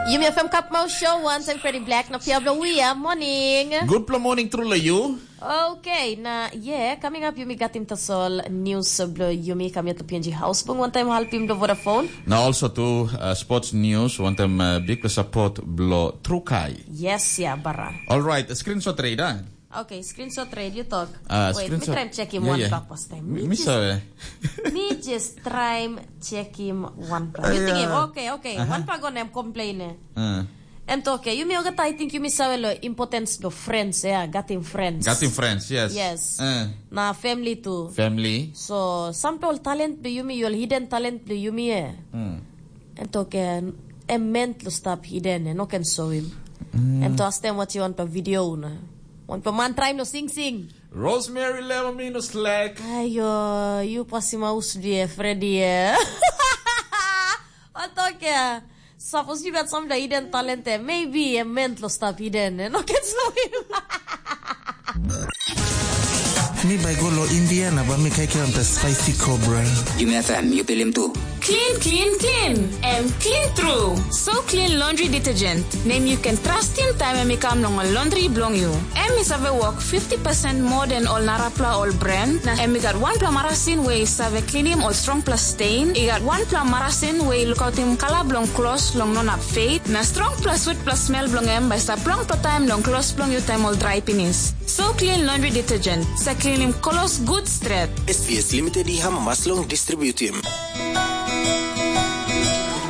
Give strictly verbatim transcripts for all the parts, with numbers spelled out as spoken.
Yumi F M Kapmau Show, wantaim Freddy Black na Pia Blawia. Morning. Gutpela morning tru long you. Okay, na yeah, coming up yumi gatim tasol news blo yumi kamiot lo P N G House bung wantaim halpim blo Vodafone. Na also tu uh, sports news wantaim uh, big support blo Trukai. Yes, ya bara. All right, screenshot reida. Okay, screenshot reid, you talk. Uh, Wait, screenshot. Me try and check him yeah, one yeah. Back first time. Me, me just, sorry. Me just try and check him one back. You think him? Okay, okay. Uh-huh. One back on him complain. Uh. And okay, you me okay, I think you me sawe lo importance of friends, yeah, got him friends. Got him friends, yes. Yes. Uh. Na family too. Family. So, some people talent do you me, your hidden talent do you me, yeah. Mm. And okay, em meant to stop hidden and no can show him. Mm. And to ask them what you want for video na. Want for man try no sing sing. Rosemary level minus slack. Ayo, you pasim aus dia Freddy ya. Otoke. Suppose you got some hidden talent there. Maybe a man lo stop hidden and no can show him. Mi bai go lo India na ba mi kaikiram ta spicy cobra. Yumi F M, you pilim tu. Clean, clean, clean. Em clean tru. So clean laundry detergent. Nem you can trust him time em i kam long ol laundry bilong you. Em i save work fifty percent more than ol narapla ol brand. Na em i gat wanpela marasin we i save cleanim ol strongpela stain. I gat wanpela marasin we i lukautim kala bilong klos long no nap fade. Na strongpela sweetpela smell bilong em bai stap longpela taim long klos bilong you taim ol drai pinis. So clean laundry detergent. Sa cleanim klos good stret. S B S Limited i hamamas long distributim.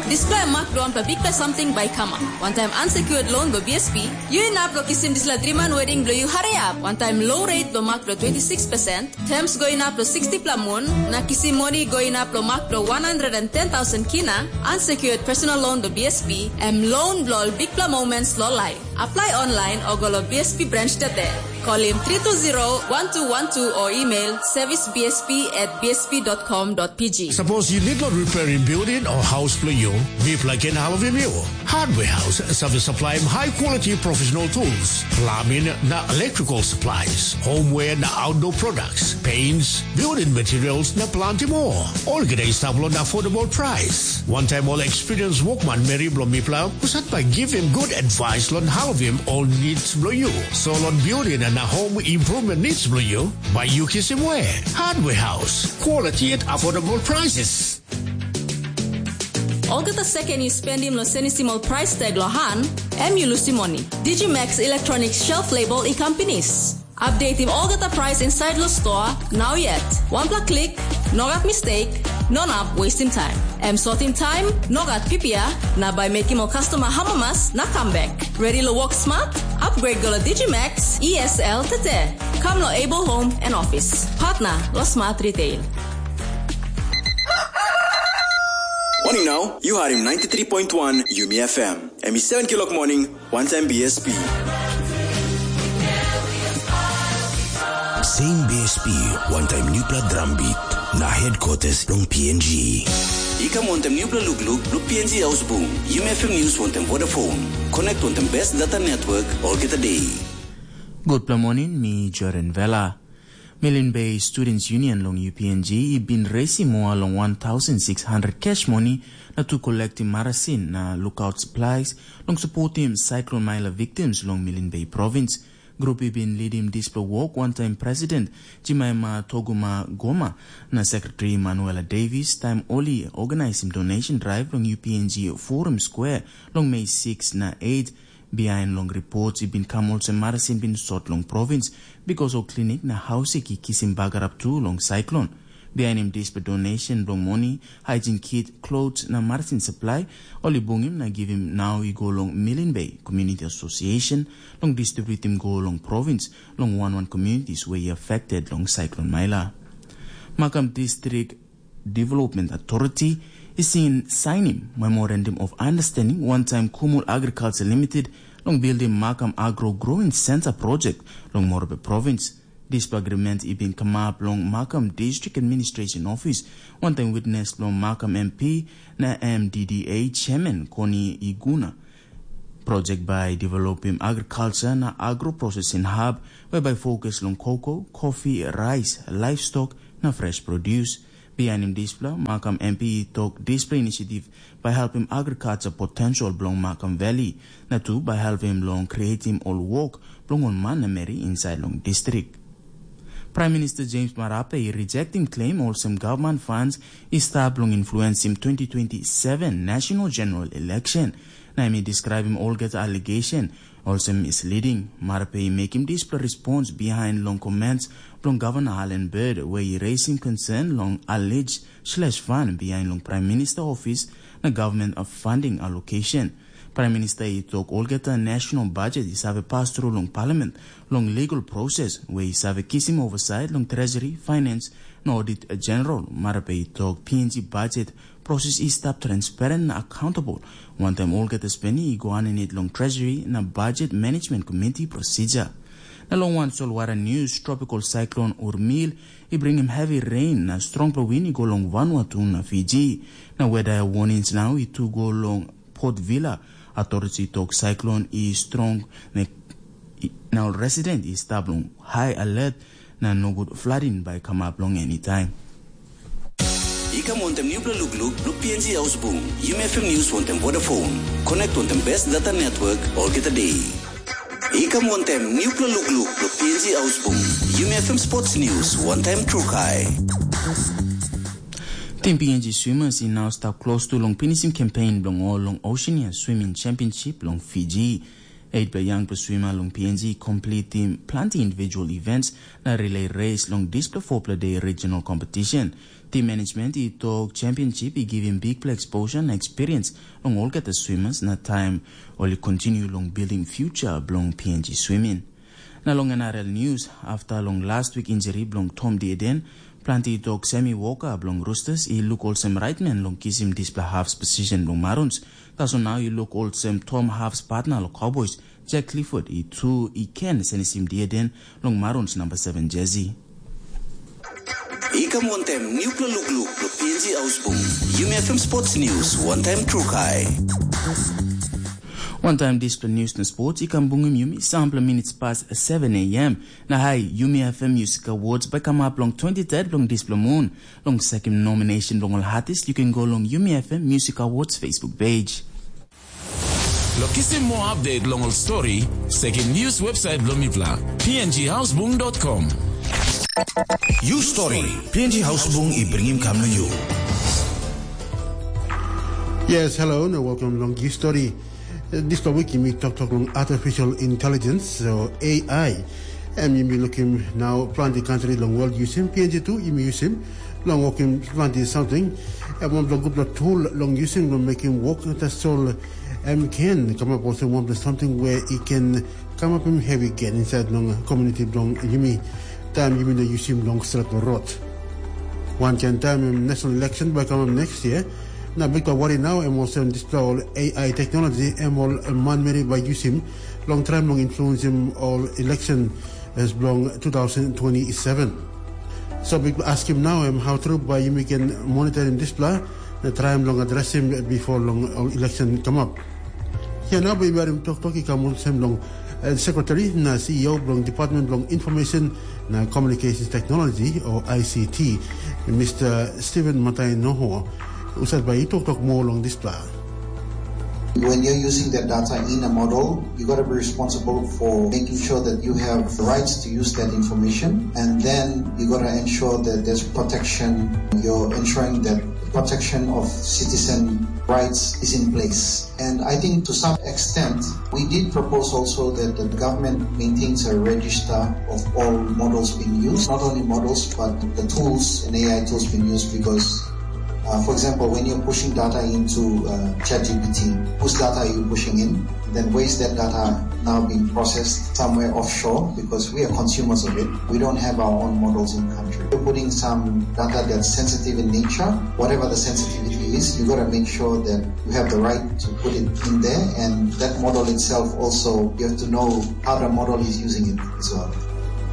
Dispela em mak bilong wanpela bikpela samting bai i kamap. Wantaim unsecured loan bilong B S P, yu inap long kisim dispela driman wedding bilong yu hariap. Wantaim low rate bilong mak bilong twenty six percent, terms go inap long sixty pela mun, na kisim moni go inap long mak bilong one hundred and ten thousand kina, unsecured personal loan bilong B S P, em loan bilong ol bikpela moments long laip. Apply online o go long B S P branch today. Call him three two zero one two one two or email service B S P at B S P dot com dot P G. Suppose you need to repair in building or house for you, we plug in all of you. Hardware House save supply high quality professional tools, plumbing na electrical supplies, homeware na outdoor products, paints, building materials na plenty more. All get a stable and affordable price. One time all experienced workman Mary Blomipla, who sat by give him good advice on how of him all needs below you. So on building and a home improvement needs below you, by you kiss him way. Hardware House, quality at affordable prices. Olgeta seken yu spendim long senisim ol price tag lo han, em yu lusim moni. Digimax Electronic Shelf Label i kam pinis. Updatim olgeta price inside lo store, now yet. Wanpela klik, no gat mistake, no nap wastim time. Em sotim time, no gat pipia, na bai mekim ol customer hamamas na comeback. Ready lo work smart? Upgrade go lo Digimax E S L tete. Come lo Able Home and Office. Partner lo Smart Retail. Morning now, you had him ninety-three point one Yumi F M. Em i seven kilok morning, one time B S P. Same B S P, one time newpela drum beat, na headquarters long P N G. I kam wantaim newpela lukluk, luk P N G Ausbung, Yumi F M News wantaim Vodafone. Connect wantaim best data network, olgeta day. Gutpela morning, mi Joren Vela. Milin Bay Students Union long U P N G i bin resim moa long one thousand six hundred cash money na tu kolektim marasin na lukaut supplies long supportim Cyclone Maila victims long Milin Bay Province. Grup i bin lidim dispela wok wantaim President Jimaima Toguma Goma na Sekretari Manuela Davis taim ol i organisim donation drive long U P N G Forum Square long Mei six na eight. Bihain long ripot i bin kam olsem marasin bin sot long provins, bikos ol klinik na haus i kisim bagarap tu long saiklon. Bihainim dispela donation bilong moni, haijin kit, klots na marasin saplai, ol i bungim na givim nau i go long Milin Bay Community Association long distributim go long provins long wan wan communities we i affected long saiklon Maila. Makam distrik Development Authority i sin sainim Memorandum of Understanding wantaim Kumul Agriculture Limited long bildim Makam Agro Growing Center project long Morobe Province. Dispela agreement i bin kamap long Makam District Administration Office wantaim witness bilong Makam M P na M D D A Chairman Koni Iguna. Project bai developim agriculture na agro processing hub we bai focus long cocoa, coffee, rice, livestock na fresh produce. Bihainim dispela, Makam M P i tok dispela inisiativ bai helpim agriculture potential bilong Makam Valley, na tu bai helpim long creatim ol wok bilong ol man na meri insait long distrik. Prime Minister James Marape i rejectim claim olsem government funds i stap long influensim twenty twenty-seven national general election, na em i describim olgeta allegation olsem misleading. Marape i mekim dispela response behind long comments bilong Governor Alan Bird, where i raising concern long alleged slash fund behind long Prime Minister office na government of funding allocation. Prime Minister i tok olgeta national budget i save pas tru long parliament long legal process, where i save kisim oversight long treasury, finance, na audit general. Marape i tok P N G budget process i stap transparent na accountable, wantaim olgeta spending i go aninit long treasury na budget management committee procedure. Na long wan solwara news, tropical cyclone Urmil i bringim heavy rain na strongpela wind i go long Vanuatu na Fiji. Na weather warnings nau i tu go long Port Vila. Authority tok cyclone i strong, na, na ol resident i stap long high alert, na nogut flooding bai kamap long anytime. I kam wantem nupela lukluk bilong P N G Haus Bung, Yumi F M News wantem Vodafone. Connect wantem best data network olgeta day. I kam wantem nupela lukluk bilong P N G Haus Bung, Yumi F M Sports News wantem Trukai. Tim P N G swimmers i nau stap klostu long pinisim campaign bilong ol long Oceania Swimming Championship long Fiji. Eitpela yangpela swima long P N G i completim planti individual events na relay race long dispela fopela day regional competition. Team management i tok championship i givim bikpela exposure na experience long olgeta swimmers na taim ol i continue long building future bilong P N G swimming. Na long N R L news, afta long last week injury bilong Tom Dieden, planti tok semi woka bilong Roosters i luk olsem right man long kisim dispela half position bilong Maroons. Tasol nau i luk olsem Tom Half's partner long Cowboys, Jack Clifford, i tu i ken senisim Dieden long Maroons namba seven jersey. I kam wantem nupela lukluk long P N G Haus Bung, Yumi F M Sports News wantem Trukai. Wantaim dispela news na sports i kam bungim yumi sampela minutes pas seven a.m. Na hai, Yumi F M Music Awards bai kamap long twenty-third bilong dispela mun. Long sekim nomination bilong ol artist, yu ken go long Yumi F M Music Awards Facebook page. Long kisim moa update long ol stori, sekim news website bilong mipela, P N G hausbung dot com. You story, P N G Hausbung i bringim kam long you. Yes, hello, na welcome long You Story. Dispela wik yumi toktok long artificial intelligence, so A I. Em yumi lukim nau planti kantri long world yusim, P N G tu yumi yusim long wokim planti samting. Em wanpela gutpela tool long yusim long mekim wok, tasol em ken kamap olsem wanpela samting we i ken kamapim hevi gen insait long komuniti bilong yumi, taim yumi no yusim long stretpela rot. Wankain taim em national election bai kamap next year, na bikpela wari nau em olsem dispela ol A I teknologi em ol manmeri bai yusim long traim long influensim ol election as bilong two thousand twenty-seven. So bikpela askim nau em how tru bai yumi ken monitorim dispela na traim long adresim bipo long ol election kamap. Ia nau bai yumi harim toktok i kam olsem long eh, sekretari na C E O bilong Department bilong Information na Communications Technology o I C T, Mr. Stephen Matai Noho, husat bai i toktok moa long dispela. When you're using that data in a model, you got to be responsible for making sure that you have rights to use that information, and then you got to ensure that there's protection. You're ensuring that protection of citizen rights is in place. And I think to some extent, we did propose also that the government maintains a register of all models being used, not only models, but the tools and A I tools being used because, uh, for example, when you're pushing data into uh, ChatGPT, whose data are you pushing in? Then where is that data now being processed? Somewhere offshore because we are consumers of it. We don't have our own models in country. You're putting some data that's sensitive in nature, whatever the sensitivity is, you got to make sure that you have the right to put it in there, and that model itself also, you have to know how the model is using it as well.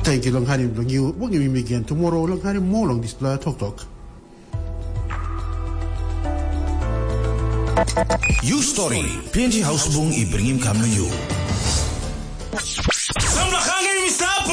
Thank you, long harim long you. We'll give him again tomorrow, long harim more long this toktok. You story, P N G Hausbung i bringim kam na you.